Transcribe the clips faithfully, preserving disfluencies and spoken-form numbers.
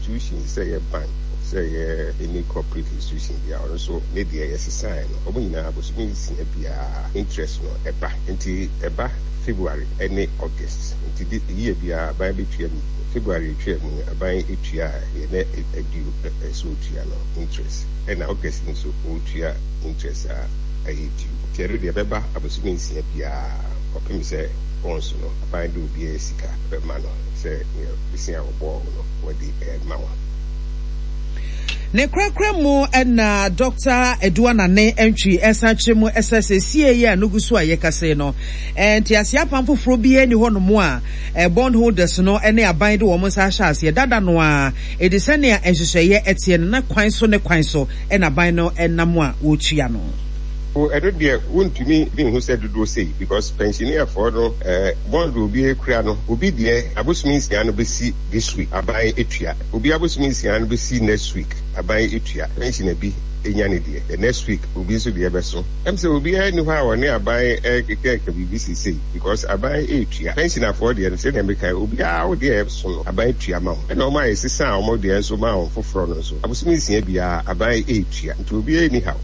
Institution, sɛ yɛ bank, sɛ yɛ any corporate institution bi a, ɔno nso ne deɛ yɛsesae no, ɔmo nyinaa bosome nsia biara interest no ɛba, nti ɛba February ɛne August. Nti de yie biara aban bɛtua mu. February etwa mu, aban etua a yɛ nɛ adu ɛsɛ otua no interest, ɛna August nso ɔretua interest a ɛyɛ due. Nti ɛno deɛ ɛbɛba abosome nsia biara kɔpem sɛ bonds no aban de obiara sika bɛma no sɛ nea bosea a wɔbɔɔ no wɔde ɛma wɔn. Ne korakora mu ɛna Doctor Adu Anane Antwi ɛsan kyerɛ mu ɛsɛ sɛ sie yi a no gu so a yɛkasa no, nti ase apam foforɔ biara ni hɔnom a bond holders no ne aban de wɔn nsa ahyɛ aseɛ dada no a ɛdi sɛnea nhyehyɛeɛ ɛteɛ no na kwan so ne kwan so ɛna aban no ɛnam a wɔretua no. Ɛno deɛ wontumi nhu sɛ dodoɔ sei, because pensionerfoɔ no, ɛɛ bond obi ekura no, obi deɛ abosome nsia no bɛsi this week, aban etua. Obi abosome nsia no bɛsi next week, aban etua. Pensioner bi enya ne deɛ the next week, obi nso deɛ bɛso. Ɛm sɛ obiara ni hɔ a wɔne aban ɛkeka biribi sisei, because aban etua pensionerfoɔ deɛ no. Sɛdeɛ meka, obiara wo deɛ ɛso no, aban etua ma wɔn, ɛna wɔn a yɛsesa a wɔn deɛ nso ma wɔn foforɔ no nso, abosome nsia biara aban etua, nti obiara ni haw.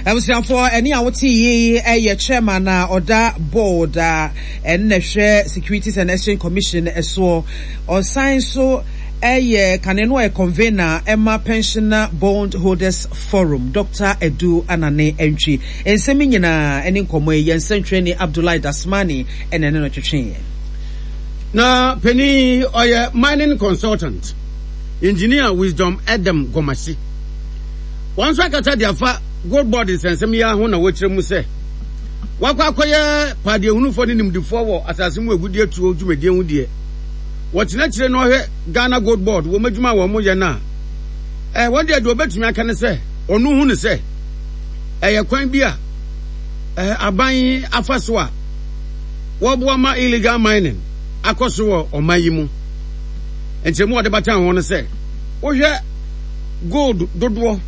Abusuafoɔ, ɛne a wote yi ɛyɛ chairman a ɔda board a ɛnna hwɛ Securities and Exchange Commission ɛsoɔ. Ɔsan so ɛyɛ kane no ɔyɛ convener ɛma Pensioner Bond Holders Forum, Doctor Edu Anane Antwi. Nsɛm nyinaa ɛne nkɔmmɔ yi, yɛn nsɛntwerɛni Abdullahi Dasmani ɛna ɛne no twetweeɛ. Na panin ɔyɛ mining consultant, Engineer Wisdom Edem Gomasi, wɔn nso akasa de afa Gold Board nsɛnsɛm yi ho, na wɔkyerɛ mu sɛ wakɔ akɔyɛ padeɛhunufoɔ ne nimdifoɔ wɔ asase mu agudie tuo dwumadie ho deɛ, wɔkyerɛkyerɛ kyerɛ no ɔhwɛ Ghana Gold Board wɔn adwuma a wɔn yɛ no a, ɛɛ wɔn deɛ deɛ wɔbɛtumi aka ne sɛ ɔno hu ne sɛ ɛyɛ kwan bi a ɛɛ aban afa so a wɔboa ma illegal mining akɔ so wɔ ɔman yi mu. Nkyɛnmu a wɔde bata ho no sɛ wohwɛ gold dodoɔ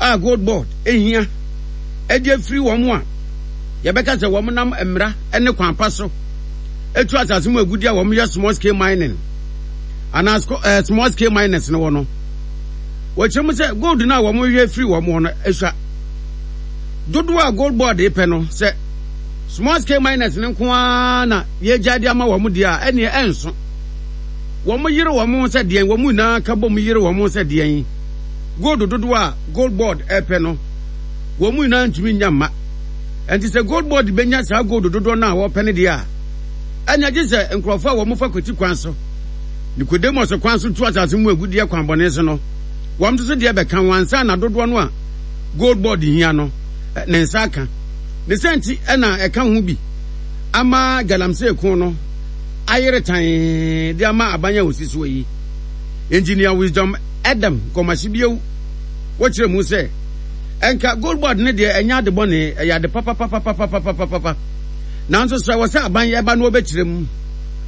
a Gold Board ehia ɛde afiri wɔn a yɛbɛka sɛ wɔn nam mmara ne kwan pa so etu asase mu agudi a wɔn yɛ small scale mining anaa ɛɛ small scale miners no wɔ no, wɔkyerɛ mu sɛ gold no a wɔn hwɛ firi wɔn hɔ no esua dodoɔ a Gold Board pɛ no, sɛ small scale miners no nko ara na yɛgya de ama wɔn deɛ a, ɛneɛ ɛnso wɔn yere wɔn sɛ deɛn, wɔn nyinaa ka bɔ mu yere wɔn sɛ deɛn, gold dodoɔ a Gold Board ɛpɛ no, wɔn nyinaa ntumi nya mma. Nti sɛ Gold Board bɛnya saa gold dodoɔ no a wɔpɛ no deɛ a, ɛna gye sɛ nkurɔfoɔ a wɔn fa kwati kwan so, Nicodemus kwan so tu asase mu agudeɛ kwan bɔne so no, wɔn nso so deɛ bɛka wɔn ansa na dodoɔ no a Gold Board hia no ne nsa aka ne sɛ. Nti ɛna ɛka ho bi ama galamsey ko no ayere tan de ama aban a osi soɔ yi. Engineer Wisdom Edem Gomashie bio wɔkyerɛ mu sɛ ɛnka Gold Board ne deɛ ɛnyɛ ade bɔne, ɛyɛ ade papapapapapapapa, nanso sɛ wɔ sɛ aban ɛba no wɔbɛkyerɛ mu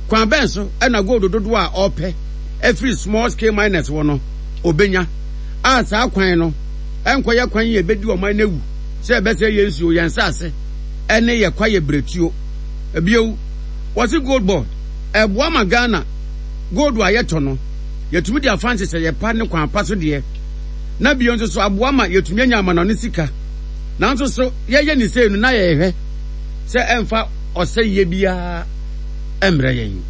kwan bɛn so ɛna gold dodoɔ a ɔpɛ ɛfiri small scale miners wɔ no obenya a, saa kwan no ɛnkɔyɛ kwan yi ebedi ɔman no ewu sɛ ɛbɛsɛ yɛn nsuo, yɛn nsaase ɛne yɛ kwa yɛ beretuo. Ebio wɔsi Gold Board ɛboa ma Ghana gold a yɛtɔ no yɛtumi de afa nhyehyɛ yɛ pa ne kwan pa so deɛ, na bio nso so aboa ma yɛtumi anya amanɔne sika. Nanso so yɛyɛ ne sei no na yɛhwɛ sɛ ɛmfa ɔsɛyie biara ɛmmerɛ yɛn.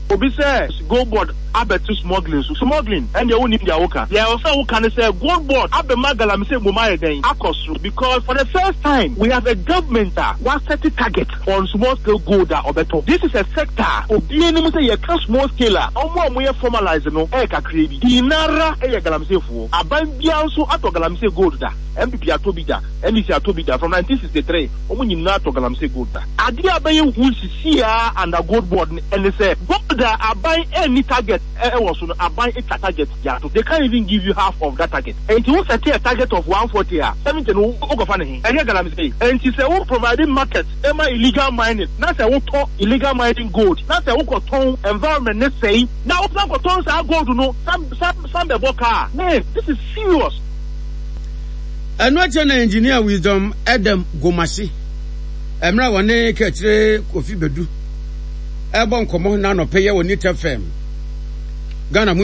Obi sɛ Gold Board abɛto smuggling so, smuggling ɛndeɛ wonim deɛ woka. Deɛ ɛwɔ sɛ woka ne sɛ Gold Board abɛma galamsey mmom ayɛ dɛn akɔ soro, because for the first time we have a government a waset target on small scale gold a ɔbɛtɔ. This is a sector a obiara nim sɛ yɛka small scale a, ɔmo a ɔmo yɛ formalize no ɛyɛ kakra bi. Pii nara ɛyɛ galamseyfoɔ. Aban biara nso atɔ galamsey gold da. N P P atɔ bi da, N D C atɔ bi da. From nineteen sixty-three ɔmo nyinaa atɔ galamsey gold da. Adeɛ a bɛyɛ hu sisi a under Gold Board no ɛne sɛ gold a aban ɛnni target ɛwɔ so no, aban atwa target de ato. They can't even give you half of that target. Nti wo set a target of one forty a, seventy no wokɔfa ne he? Ɛnyɛ galamsey? Nti sɛ wo provide market ɛma illegal mining, na sɛ wotɔ illegal mining gold, na sɛ wokɔtɔn, environment ne sɛe, na wosan kɔtɔn saa gold no san san san bɛbɔ kaa. Man, this is serious. Ɛno akyɛ na Engineer Wisdom Edem Gomashie, mmerɛ a wɔne Kɛkyerɛ Kofi Bedu ɛbɔ nkɔmmɔ na anɔpɛ yɛ wɔ Neat F M Ghana mu.